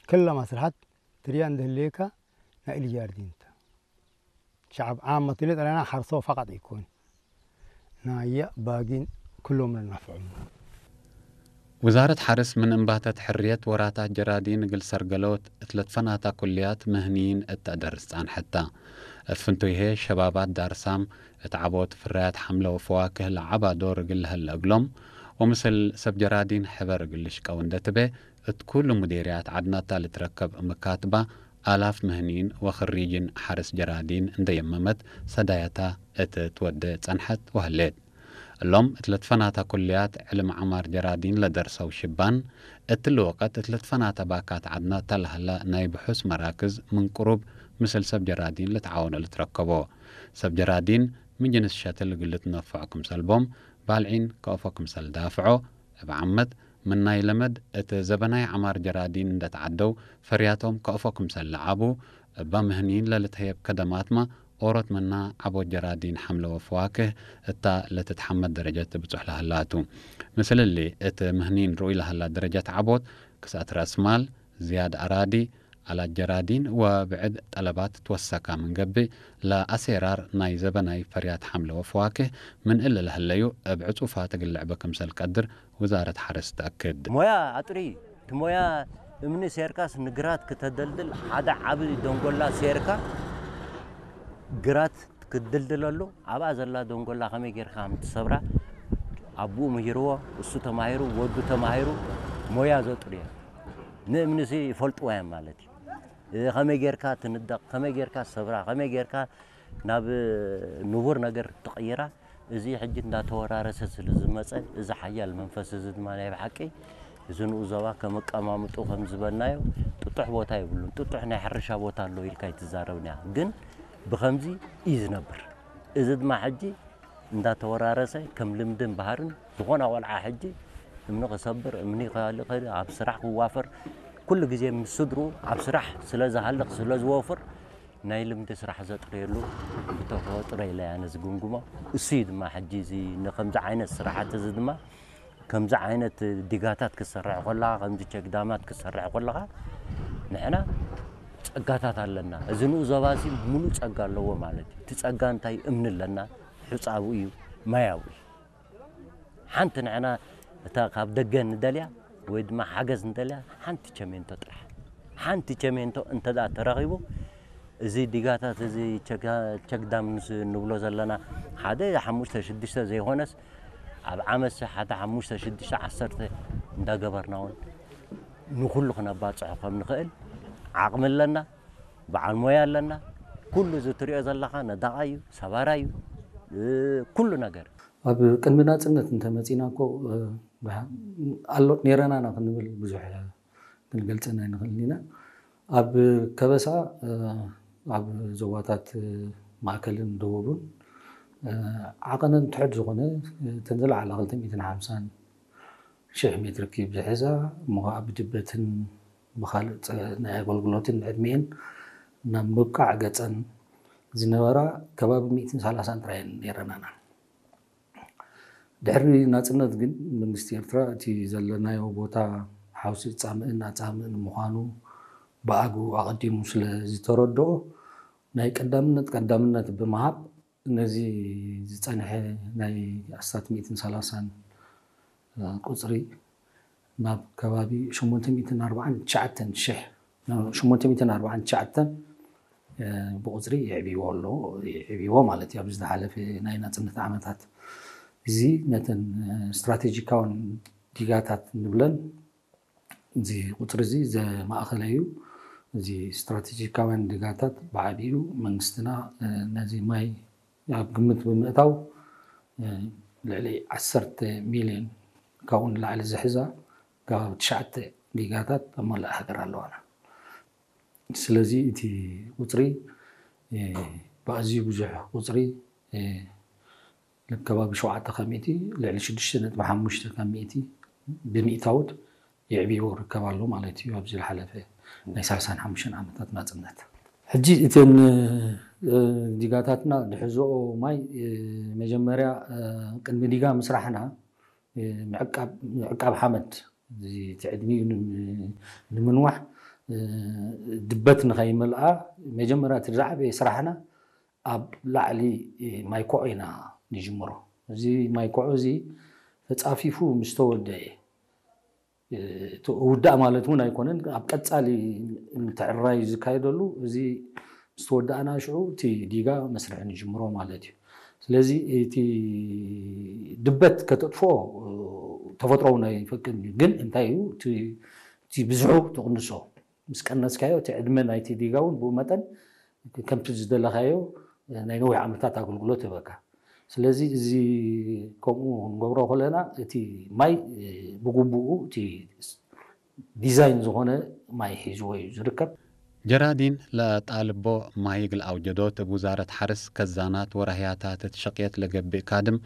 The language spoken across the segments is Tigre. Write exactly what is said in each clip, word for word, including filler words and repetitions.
ክለ መስለሐት ትርያ እንዴ ህሌከ ናይ እሊ ጃርዲን ተ። ሸዐብ ዓመት እሊ ጠለና ሐርሶ ፈቀጥ ኢኮን። ናየ ባጊን ክሎም ለነፍዑ። ውዛረት ሐርስ ምን እንባተት ሕርየት ወራታት ጀራዲን እግል ሰርገሎት እት ለትፈናታ ኩልያት ምህንይን እት ተአደርስ ጻንሐት ተ። እት ፍንቱይ ህዬ ሸባባት ዳርሳም እት ዐቦት ፍራያት ሐምለ ወፈዋክህ ለዐባ ዶር እግል ለሀለ እግሎም፣ ወምስል ሰብ ጀራዲን ሕበር እግል ልሽቀው እንዴ ትቤ፣ እት ኩሉ ሙዴርያት ዐድናታ ልትረከብ ምካትባ አላፍ ምህንይን ወክሪጅን ሐርስ ጀራዲን እንዴ የመመት ሰዳያታ እት ትወዴ ጸንሐት ወህሌት። እሎም እት ለትፈናታ ኩልያት ዕልም ዐማር ጀራዲን ለደርሰው ሽባን፣ እትሊ ወቀት እት ለትፈናተ ባካት ዐድናታ ለሀለ ናይ ብሑስ መራክዝ ምን ቅሩብ ምስል ሰብ ጀራዲን ልትዓወኖ ልትረከቦ። ሰብ ጀራዲን ምን ጅንስ ሸትል እግል ልትነፈዖ ክምሰል ቦም ባልዒን ከአፎ ክምሰል ዳፍዖ፣ እብ ዓመት ምን ናይ ለመድ እት ዘበናይ ዐማር ጀራዲን እንዴ ተዐደው ፈርያቶም ከአፎ ክምሰል ለዐቡ፣ እበ ምህንይን ለልትሀየብ ከደማትመ ኦሮት ምና ዐቦት ጀራዲን ሐምለ ወፈዋክህ እታ ለትትሐመድ ደረጀት ትብጹሕ ለሀላቱ። ምስል እሊ እት ምህንይን ርኡይ ለሀላ ደረጀት ዐቦት፣ ክስአት ረአስ ማል፣ ዝያድ አራዲ፣ አላት ጀራዲን ወብዕድ ጠለባት ትወሰካ ምን ገብእ፣ ለአሴራር ናይ ዘበናይ ፈርያት ሐምለ ወፈዋክህ ምን እሊ ለህለዩ እብ ዕጹፋት እግል ልዕበ ክምሰል ቀድር ውዛረት ሐርስ ተአክድ። ሞያ አጥሪ፣ እት ሞያ እምኒ ሴርካስ ንግራት ክተደልድል፣ ሐደ ዐቢ ደንጎላ ሴርካ፣ ግራት ክድልድለሉ፣ አብአ ዘላ ደንጎላ ከመ ጌርካ አምትሰብራ፣ አቡኡ ምሂርዎ፣ እሱ ተማሂሩ፣ ወዱ ተማሂሩ፣ ሞያ ዘጥርዮ። ንእምንሲ ይፈልጥዋዮም ማለት እዩ። ከመይ ጌርካ ትንደቅ፣ ከመይ ጌርካ ትሰብራ፣ ከመይ ጌርካ ናብ ንቡር ነገር ትቀይራ፣ እዚ ሕጂ እንዳተወራረሰ ስለ ዝመጸ፣ እዚ ሓያል መንፈስ እዚ ድማ ናይ ብሓቂ፣ እዚ ንኡዘባ ከም ኣቀማምጡ ከም ዝበልናዮ፣ ጥጡሕ ቦታ የብሉን። ጥጡሕ ናይ ሕርሻ ቦታ ኣሎ ኢልካ ኣይትዛረብን ኢኻ። ግን ብኸምዚ እዩ ዝነብር። እዚ ድማ ሕጂ እንዳተወራረሰ ከም ልምድን ባህርን ዝኾነ ቆልዓ ሕጂ እምኒ ክሰብር፣ እምኒ ከልእ፣ ኣብ ስራሕ ክዋፈር፣ ኩሉ ግዜ ምስ ስድርኡ ኣብ ስራሕ ስለ ዝሃልቕ ስለ ዝወፍር፣ ናይ ልምዲ ስራሕ ዘጥርየሉ ብተፈጥሮ ኢለ ኣነ ዝግምግሞ እሱ እዩ። ድማ ሕጂ እዚ ንከምዚ ዓይነት ስራሓት እዚ ድማ ከምዚ ዓይነት ዲጋታት ክትሰርሕ ከለኻ፣ ከምዚ ቸግዳማት ክትሰርሕ ከለኻ፣ ንሕና ጸጋታት ኣለና። እዚ ንኡዘባሲ ምሉእ ጸጋ ኣለዎ ማለት እዩ። እቲ ጸጋ እንታይ? እምኒ ኣለና፣ ሑጻዊ እዩ፣ ማያዊ እዩ። ሓንቲ ንሕና እታ ካብ ደገ ንደልያ ወይ ድማ ሓገዝ ንደልያ ሓንቲ ቸሜንቶ ጥራሕ። ሓንቲ ቸሜንቶ እንተ ደኣ ተረኺቡ፣ እዚ ዲጋታት፣ እዚ ቸጋ-፣ ቸግዳም ንስ-፣ ንብሎ ዘለና፣ ሓደ ሓሙሽተ ሽዱሽተ ዘይኮነስ፣ ኣብ ዓመት ሓደ ሓሙሽተ ሽዱሽተ ዓሰርተ እንዳገበርና እውን ንኹሉ ክነባጽሖ ከም ንኽእል ዓቕሚ ኣለና፣ በዓል ሞያ ኣለና። ኩሉ እዚ ትሪኦ ዘለኻ ነዳቓይ እዩ፣ ሰባራይ እዩ፣ እ፣ ኩሉ ነገር። ኣብ ቅድሚ ናጽነት እንተ መጺና እኮ፣ እ፣ ኣሎ ኔረና ኢና ክንብል ብዙሕ ክንገልጸን ኣይንኽእልን ኢና። ኣብ ከበሳ፣ እ፣ ኣብ ዞባታት፣ እ፣ ማእከልን ደቡብን፣ እ፣ ዓቐነን ትሑት ዝኾነ፣ እ፣ እተን ዝለዓላ ክልተ ሚእትን ሓምሳን ሽሕ ሜትር ኪዩብ ዝሕዛ፣ እሞ ኸኣ ብድበትን ብኻልእ ጸ-፣ ናይ ኣገልግሎትን ዕድሜን ናብ ምብቃዕ ገጸን ዝነበራ ከባቢ ሚእትን ሰላሳን ጥራይ እየን ኔረናና። ድሕሪ ናጽነት ግን መንግስቲ ኤርትራ እቲ ዘለናዮ ቦታ ሓውሲ ጻምእን ኣጻምእን ምዃኑ ብኣግኡ ኣቐዲሙ ስለ ዝተረድኦ፣ ናይ ቀዳምነት ቀዳምነት ብምሃብ ነዚ ዝጸንሐ ናይ ኣስታት ሚእትን ሰላሳን ቁጽሪ ናብ ከባቢ ሸሞንተ ሚእትን ኣርባዓን ትሽዓተን ሽሕ፣ ሸሞንተ ሚእትን ኣርባዓን ትሽዓተን ብቁጽሪ የዕብይዎ ኣሎ፣ የዕብይዎ ማለት እዩ። ኣብዚ ዝሓለፈ ናይ ናጽነት ዓመታት እዚ ነተን ስትራቴጂካውን ዲጋታት ንብለን እዚ ቁጽሪ እዚ ዘማእከለ እዩ። እዚ ስትራቴጂካውያን ዲጋታት ብዓቢኡ መንግስትና፣ እ፣ ነዚ ማይ ኣብ ግምት ብምእታው፣ እ፣ ልዕሊ ዓሰርተ ሚልዮን ካብኡ ንላዕሊ ዝሕዛ ከባቢ ትሽዓተ ዲጋታት ኣብ መላእ ሃገር ኣለዋና። ስለዚ እቲ ቁጽሪ፣ እ፣ ብኣዝዩ ብዙሕ ቁጽሪ፣ እ፣ ልብ ከባቢ ሸውዓተ ካብ ሚእቲ፣ ልዕሊ ሽዱሽተ ነጥቢ ሓሙሽተ ካብ ሚእቲ ብሚእታውት የዕብይዎ ይርከብ ኣሎ ማለት እዩ፣ ኣብዚ ዝሓለፈ ናይ ሰላሳን ሓሙሽተን ዓመታት ናጽነት። ሕጂ እተን፣ እ፣ ዲጋታትና ዝሕዝኦ ማይ፣ እ፣ መጀመርያ፣ እ፣ ቅድሚ ዲጋ ምስራሕና፣ እ፣ ምዕቃብ፣ ምዕቃብ ሓመድ፣ እዚ እቲ ዕድሚኡ ንም-፣ ንምንዋሕ ድበት ንኸይመልኣ መጀመርያ እቲ ዝዓበየ ስራሕና ኣብ ላዕሊ ማይ ኮዖ ኢና ንጅምሮ። እዚ ማይ ኮዖ እዚ ተጻፊፉ ምስ ተወደአ፣ እቲ ውዳእ ማለት እውን ኣይኮነን፣ ኣብ ቀጻሊ ምትዕርራይ ዝካየደሉ፣ እዚ ምስ ተወደኣና ሽዑ እቲ ዲጋ መስርሒ ንጅምሮ ማለት እዩ። ስለዚ እቲ ድበት ከተጥፍኦ ተፈጥሮውን ኣይፈቅድን እዩ። ግን እንታይ እዩ እቲ፣ እቲ ብዝሑ ትቕንሶ። ምስ ቀነስካዮ እቲ ዕድመ ናይቲ ዲጋ እውን ብኡ መጠን ከምቲ ዝደለኻዮ ናይ ነዊሕ ዓመታት ኣገልግሎት ይህበካ። ስለዚ እዚ ከምኡ ክንገብሮ ከለና እቲ ማይ ብግቡኡ እቲ ዲዛይን ዝኾነ ማይ ሒዝዎ እዩ ዝርከብ። ጀራዲን ለጣልቦ ማይ እግል ኣውጀዶት እብ ውዛረት ሐርስ ከዛናት ወራህያታት እት ሸቅየት ለገብእ ካድም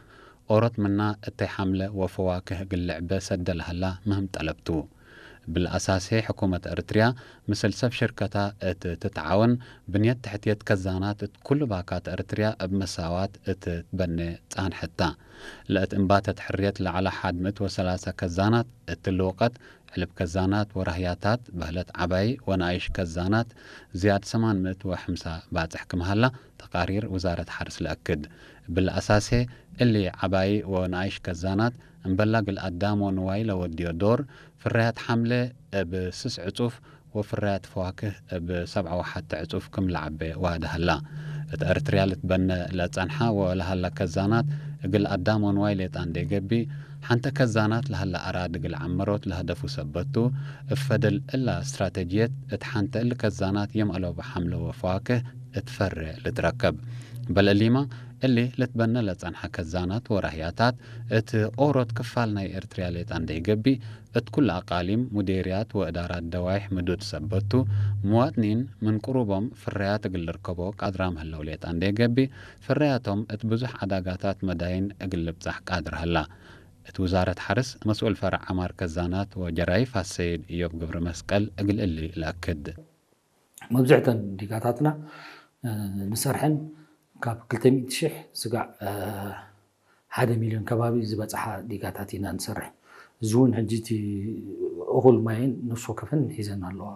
ኦሮት ምና እተይ ሐምለ ወፈዋክህ እግል ልዕበ ሰደ ለሀላ ምህም ጠለብ ቱ። እብል አሳሴ ሕኩመት ኤረትርያ ምስል ሰብ ሽርከታ እት ትትዓወን ብንየት ተሕትየት ከዛናት እት ኩሉ ባካት ኤረትርያ እብ መሳዋት እት ትበኔ ጻንሐት ታ። ለእት እምባተት ሕርየት ለዐለ ሐድ ምእት ወሰላሰ ከዛናት እት እሊ ወቀት ዕልብ ከዛናት ወራህያታት በህለት ዐባይ ወነኣይሽ ከዛናት ዝያድ ሰማን ምእት ወሐምሳ ባጽሕ ክም ሀላ ተቃሪር ውዛረት ሐርስ ለአክድ። እብል አሳሴ እሊ ዐባይ ወነኣይሽ ከዛናት እምበላ እግል አዳም ወንዋይ ለወድዮ ዶር ፍረያት ሐምለ እብ ስስ ዕጹፍ ወፍረያት ፈዋክህ እብ ሰብዐ ወሐቴ ዕጹፍ ክም ለዐቤ ዋዲ ሀላ። እት ኤረትርያ ልትበነ ለጸንሐ ወለሀለ ከዛናት እግል አዳም ወንዋይ ሌጣ እንዴ ገብእ፣ ሐንተ ከዛናት ለሀለ አራዲ እግል ዐምሮት ለሀደፉ ሰበት ቱ። እብ ፈደል እላ እስትራተጅየት እት ሐንተ እሊ ከዛናት የም አለቡ ሐምለ ወፈዋክህ እት ፈሬ ልትረከብ። በል እሊመ እሊ ልትበነ ለጸንሐ ከዛናት ወራህያታት እት ኦሮት ክፋል ናይ ኤረትርያ ሌጣ እንዴ ገብእ፣ እት ኩለ አቃሊም፣ ሙዴርያት ወእዳራት ደዋይሕ ምዱድ ሰበት ቱ። ምዋጥኒን ምን ቅሩቦም ፍረያት እግል ልርከቦ ቃድራም ህለው ሌጣ እንዴ ገብእ፣ ፍረያቶም እት ብዙሕ ዐዳጋታት መዳይን እግል ልብጻሕ ቃድር ሀላ። እት ውዛረት ሐርስ መስኡል ፈረዕ ዐማር ከዛናት ወጀራይፍ አሰይድ እዮብ ገብረመስቀል እግል እሊ ለአክድ። መብዝሕተን ዲጋታትና፣ እ፣ ንሰርሐን ካብ ክልተ ሚእቲ ሺሕ ስጋዕ፣ እ፣ ሓደ ሚልዮን ከባቢ ዝበጽሓ ዲጋታት ኢና ንሰርሕ። እዚ እውን ሕጂ እቲ እኹል ማይን ነፍስ ወከፈን ሒዘን ኣለዋ።